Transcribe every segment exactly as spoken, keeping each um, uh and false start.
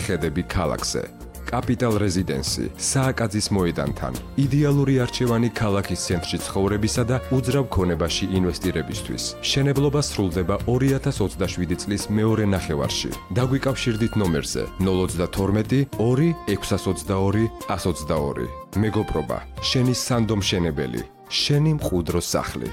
ხედები ქალაქზე. კაპიტალ რეზიდენსი, სააკაძის მოედანთან. იდეალური არჩევანი ქალაქის ცენტრში ცხოვრებისა და უძრავ ქონებაში ინვესტირებისთვის. შენებლობა სრულდება ორი ათას ოცდაშვიდი წლის მეორე ნახევარში. დაგვიკავშირდით ნომერზე ნულ ოცდათორმეტი ორი ექვსას ოცდაორი ას ოცდაორი. მეგობრობა, შენი სანდომშენებელი, შენი მყუდრო სახლი.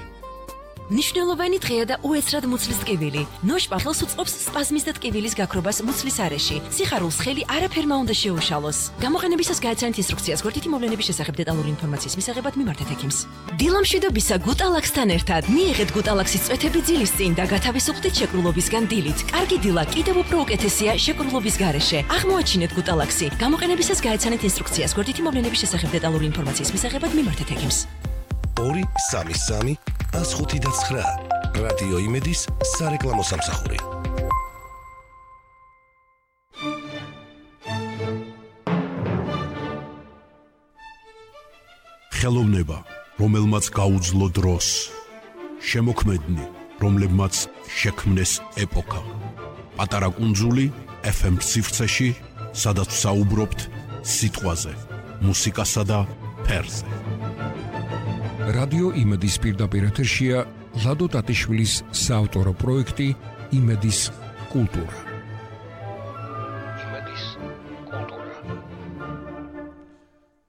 ნიშნულოვანი დღეა და უეცრად მუცლის ტკივილი. ნოშპატლს უწყობს სპაზმის და ტკივილის გაქრობას მუცლის არეში. სიხარულს ხელი არაფერმა უნდა შეუშალოს. გამოყენებისას გააცანით ინსტრუქციას გვერდითი მოვლენების შესახებ დეტალური ინფორმაციის მისაღებად მიმართეთ ექიმს. დილამშვიდობისა გუტალაქსთან ერთად მიიღეთ გუტალაქსის წვეთები ძილის წინ და გათავისუფლდით შეკრულობისგან დილით. კარგი დილა კიდევ უფრო უკეთესია შეკრულობის გარეშე. აღმოაჩინეთ გუტალაქსი. გამოყენებისას გააცანით ინსტრუქციას გვერდითი მოვლენების შესახებ დეტალური ინფორმაციის მისაღებად მიმართეთ ექიმს. ორი სამი სამი ას ხუთი და ცხრა რადიო იმედის სარეკლამო სამსახური. ხელოვნება, რომელმაც გაუძლო დროს, შემოქმედნი, რომლებმაც შექმნეს ეპოქა. პატარა კუნძული ეფ ემ სივრცეში, სადაც საუბრობთ სიტყვაზე, მუსიკასა და ფერზე. რადიო იმედის პირდაპირ ეთერშია ლადო ტატიშვილის საავტორო პროექტი იმედის კულტურა. იმედის კულტურა.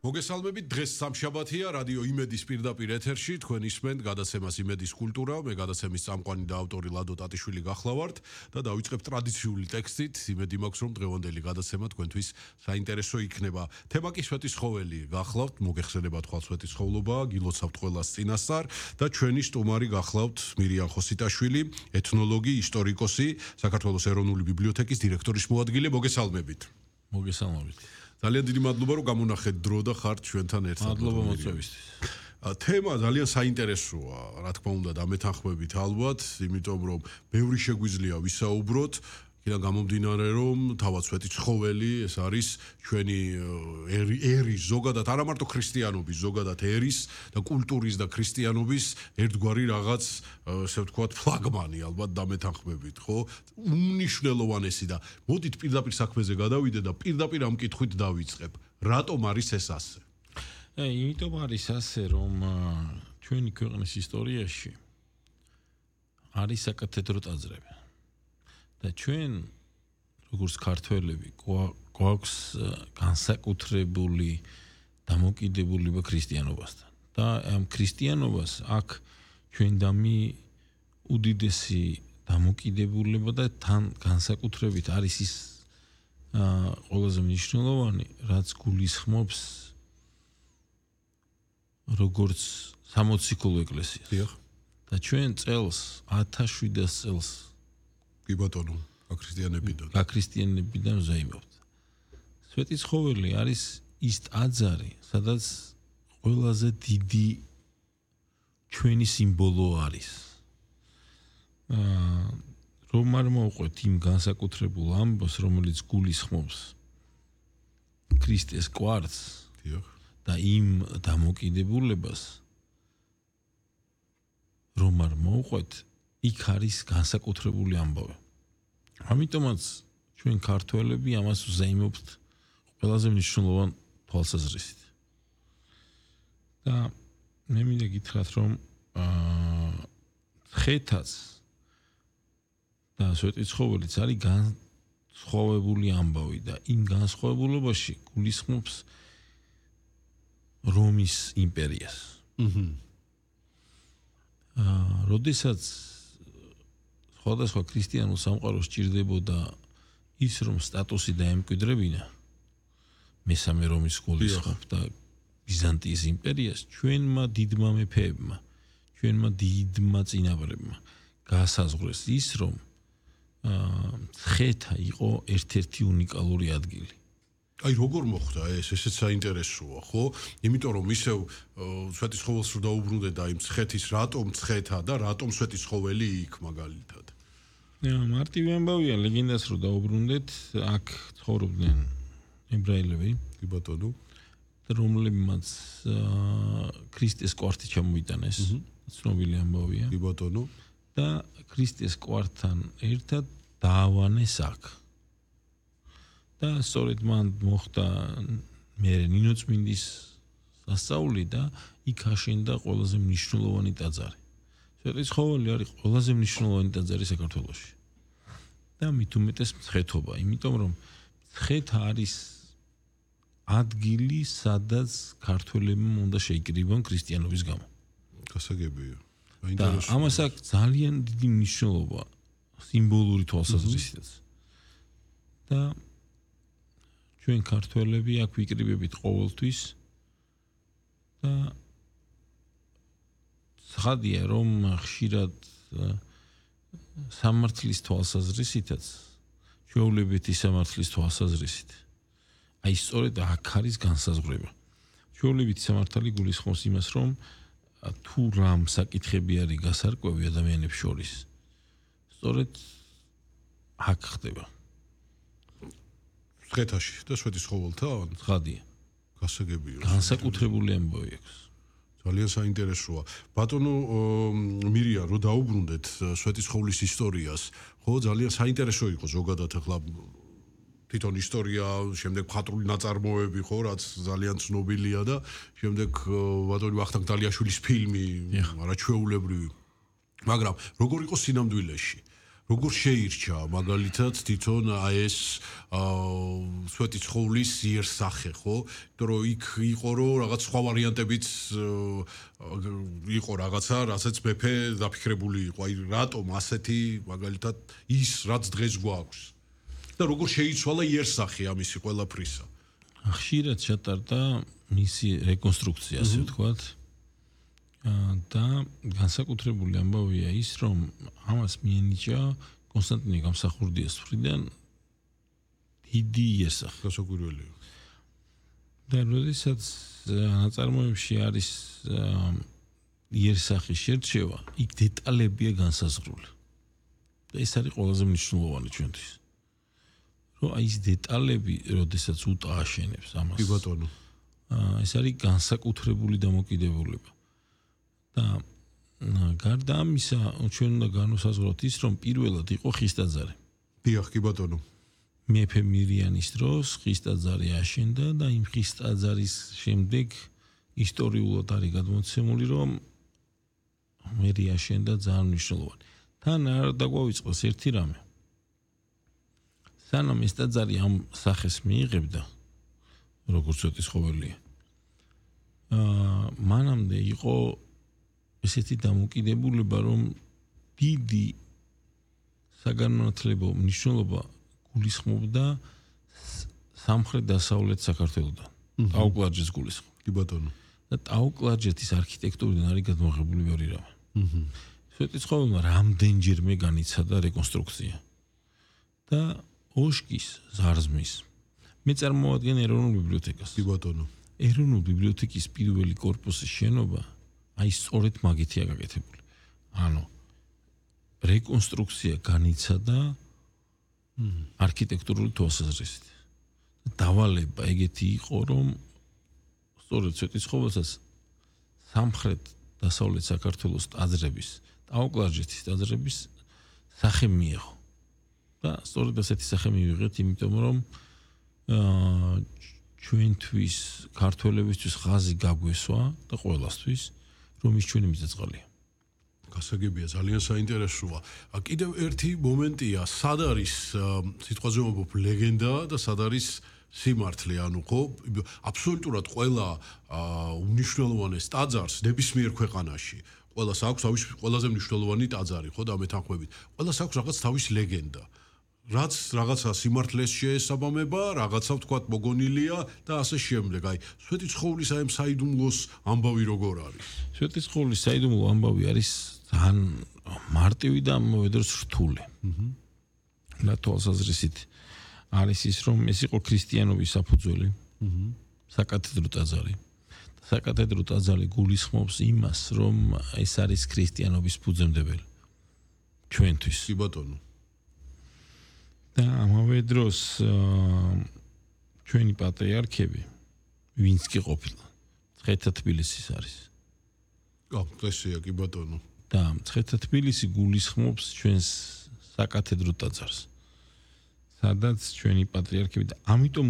მოგესალმებით, დღეს სამშაბათია, რადიო იმედის პირდაპირ ეთერში, თქვენ ისმენთ გადაცემას იმედის კულტურა, მე გადაცემის წამყვანი და ავტორი ლადო ტატიშვილი გახლავართ და დავიწყებ ტრადიციული ტექსტით. იმედი მაქვს, რომ დღევანდელი გადაცემა თქვენთვის საინტერესო იქნება. თემა კი სვეტიცხოველი გახლავთ, მოგეხსენება თქვა სვეტიცხოვლობა, გილოცავთ ყველას წინასწარ და ჩვენი სტუმარი გახლავთ მირიან ხოსიტაშვილი, ეთნოლოგი, ისტორიკოსი, საქართველოს ეროვნული ბიბლიოთეკის დირექტორის მოადგილე. მოგესალმებით. მოგესალმებით. ძალიან დიდი მადლობა, რომ გამონახეთ დრო და ხართ ჩვენთან ერთად. მადლობა მოწვევისთვის. თემა ძალიან საინტერესოა, რა თქმა უნდა, დამეთანხმებით ალბათ, იმიტომ რომ ბევრი შეგვიძლია ვისაუბროთ, იქიდან გამომდინარე, რომ თავად სვეტიცხოველი ეს არის ჩვენი ერის, ზოგადად არა მარტო ქრისტიანობის, ზოგადად ერის და კულტურის და ქრისტიანობის ერთგვარი რაღაც, ესე ვთქვათ, ფლაგმანი, ალბათ დამეთანხმებით, ხო? უმნიშვნელოვანესი და მოდით პირდაპირ საქმეზე გადავიდე და პირდაპირ ამ კითხვით დავიწყებ. რატომ არის ეს ასე? ე, იმიტომ არის ასე, რომ ჩვენი ქვეყნის ისტორიაში არის საკათედრო ტაძრები. და ჩვენ როგორც ქართველები გვაქვს განსაკუთრებული დამოკიდებულება ქრისტიანობასთან და ამ ქრისტიანობას აქ ჩვენდამი უდიდესი დამოკიდებულება და თან განსაკუთრებით არის ის ყველაზე მნიშვნელოვანი, რაც გულისხმობს როგორც სამოციქულო ეკლესიას. და ჩვენ წელს ათას შვიდას წელს კი ბატონო, გაქრისტიანებიდან. გაქრისტიანებიდან ზეიმობთ. სვეტიცხოველი არის ის ტაძარი, სადაც ყველაზე დიდი ჩვენი სიმბოლო არის. აა რომ არ მოვყვეთ იმ განსაკუთრებულ ამბავს, რომელიც გულისხმობს ქრისტეს კვართს და იმ დამოკიდებულებას, რომ არ მოვყვეთ იქ არის განსაკუთრებული ამბავი. ამიტომაც ჩვენ ქართველები ამას ვზეიმობთ ყველაზე მნიშვნელოვან თვალსაზრისით. და მე მინდა გითხრათ, რომ აა ხეთაც და სვეტიცხოველიც არის განსხვავებული ამბავი და იმ განსხვავებულობაში გულისხმობს რომის იმპერიას. აჰა. აა როდესაც სხვადასხვა ქრისტიანულ სამყაროს სჭირდებოდა ის, რომ სტატუსი დაემკვიდრებინა მესამე რომის გულისხმობ და ბიზანტიის იმპერიას, ჩვენმა დიდმა მეფეებმა, ჩვენმა დიდმა წინაპრებმა გაასაზღვრეს ის, რომ ხეთა იყო ერთ-ერთი უნიკალური ადგილი. აი როგორ მოხდა ეს, ესეც საინტერესოა, ხო? იმიტომ რომ ისევ სვეტიცხოველს რო დაუბრუნდე და იმ ცხეთის რატომ ცხეთა და რატომ სვეტიცხოველი იქ მაგალითად. მარტივი ამბავია, ლეგენდას რო დაუბრუნდეთ, აქ ცხოვრობდნენ ებრაელები, კი ბატონო, რომლებმაც ქრისტეს კვართი ჩამოიტანეს, ცნობილი ამბავია. კი ბატონო. და ქრისტეს კვართთან ერთად დაავანეს აქ. და სწორედ მან მოხდა მე ნინო წმინდის სასწაული და იქ აშენდა ყველაზე მნიშვნელოვანი ტაძარი. სვეტიცხოველი არის ყველაზე მნიშვნელოვანი ტაძარი საქართველოში. და მით უმეტეს მცხეთობა, იმიტომ რომ მცხეთა არის ადგილი, სადაც ქართველებმა უნდა შეიკრიბონ ქრისტიანობის გამო. გასაგებია. და ამას აქვს ძალიან დიდი მნიშვნელობა სიმბოლური თვალსაზრისითაც. და ჩვენ ქართველები აქ ვიკრიბებით ყოველთვის და ცხადია რომ ხშირად სამართლის თვალსაზრისითაც ჩვეულებითი სამართლის თვალსაზრისით აი სწორედ აქ არის განსაზღვრება. ჩვეულებითი სამართალი გულისხმობს იმას რომ თუ რამ საკითხები არის გასარკვევი ადამიანებს შორის სწორედ აქ ხდება. მცხეთაში და სვეტიცხოველთან? ცხადია. გასაგებია. განსაკუთრებული ამბავი აქვს. ძალიან საინტერესოა. ბატონო მირია, რო დაუბრუნდეთ სვეტიცხოვლის ისტორიას, ხო, ძალიან საინტერესო იყო ზოგადად ახლა თვითონ ისტორია, შემდეგ მხატვრული ნაწარმოები, ხო, რაც ძალიან ცნობილია და შემდეგ ბატონი ვახტანგ დალიაშვილის ფილმი, არაჩვეულებრივი. მაგრამ როგორ იყო სინამდვილეში? როგორ შეირჩა მაგალითად თვითონ აი ეს სვეტიცხოვლის იერსახე, ხო? იმიტომ რომ იქ იყო რომ რაღაც სხვა ვარიანტებიც იყო რაღაცა, რასაც მეფე დაფიქრებული იყო. აი რატომ ასეთი მაგალითად ის რაც დღეს გვაქვს? და როგორ შეიცვალა იერსახე ამისი ყველაფრისა? ხშირად ჩატარდა მისი რეკონსტრუქცია, ასე ვთქვათ. და განსაკუთრებული ამბავია ის, რომ ამას მიენიჭა კონსტანტინე გამსახურდიას მხრიდან დიდი იერსახე. გასაკვირველია. და როდესაც ნაწარმოებში არის იერსახის შერჩევა, იქ დეტალებია განსაზღვრული. და ეს არის ყველაზე მნიშვნელოვანი ჩვენთვის. რომ აი ეს დეტალები, როდესაც უტა აშენებს ამას. კი ბატონო. ეს არის განსაკუთრებული დამოკიდებულება. და გარდა ამისა, ჩვენ უნდა განვასაზღვროთ ის, რომ პირველად იყო ხის ტაძარი. დიახ, კი ბატონო. მეფე მირიანის დროს ხის ტაძარი აშენდა და იმ ხის ტაძარის შემდეგ ისტორიულად არის გადმოცემული, რომ მერი აშენდა ძალიან მნიშვნელოვანი. თან არ დაგვავიწყოს ერთი რამე. სანამ ეს ტაძარი ამ სახეს მიიღებდა, როგორც სვეტიცხოველია, აა მანამდე იყო ესეთი დამოკიდებულება, რომ დიდი საგანმანათლებლო მნიშვნელობა გულისხმობდა სამხრეთ-დასავლეთ საქართველოდან. ტაო-კლარჯეთს გულისხმობდა. კი ბატონო. და ტაო-კლარჯეთის არქიტექტურიდან არის გადმოღებული ბევრი რამე. სვეტიცხოველმა რამდენჯერმე განიცადა რეკონსტრუქცია. და ოშკის ზარზმის მე წარმოადგენ ეროვნულ ბიბლიოთეკას. კი ბატონო. ეროვნული ბიბლიოთეკის პირველი корпуსის შენობა აი სწორედ მაგითია გაკეთებული. ანუ რეკონსტრუქცია განიცადა არქიტექტურული თვალსაზრისით. დავალება ეგეთი იყო, რომ სწორედ სვეტიცხოველსაც სამხრეთ დასავლეთ საქართველოს ტაძრების, ტაო-კლარჯეთის ტაძრების სახე მიიღო. და სწორედ ასეთი სახე მივიღეთ, იმიტომ რომ აა ჩვენთვის ქართველებისთვის ხაზი გაგვესვა და ყველასთვის რომ ის ჩვენი მიწა-წყალია. გასაგებია, ძალიან საინტერესოა. კიდევ ერთი მომენტია, სად არის სიტყვაზე ვამბობ ლეგენდა და სად არის სიმართლე, ანუ ხო, აბსოლუტურად ყველა უნიშნელოვანეს ტაძარს ნებისმიერ ქვეყანაში, ყველას აქვს თავის ყველაზე მნიშვნელოვანი ტაძარი, ხო და მეთანხმებით. ყველას აქვს რაღაც თავის ლეგენდა. რაც რაღაცა სიმართლეს შეესაბამება, რაღაცა ვთქვათ მოგონილია და ასე შემდეგ. აი, სვეტიცხოვლის აი საიდუმლოს ამბავი როგორ არის? სვეტიცხოვლის საიდუმლო ამბავი არის ძალიან მარტივი და ამავდროულად რთული. აჰა. და თვალსაზრისით არის ის, რომ ეს იყო ქრისტიანობის საფუძველი. აჰა. საკათედრო ტაძარი. საკათედრო ტაძარი გულისხმობს იმას, რომ ეს არის ქრისტიანობის ფუძემდებელი. ჩვენთვის. კი ბატონო. და ამავე დროს ჩვენი პატრიარქები ვინც კი ყოფილა მცხეთა თბილისის არის. აა, ეკლესია კი ბატონო. და მცხეთა თბილისი გულისხმობს ჩვენს საკათედრო ტაძარს. სადაც ჩვენი პატრიარქები და ამიტომ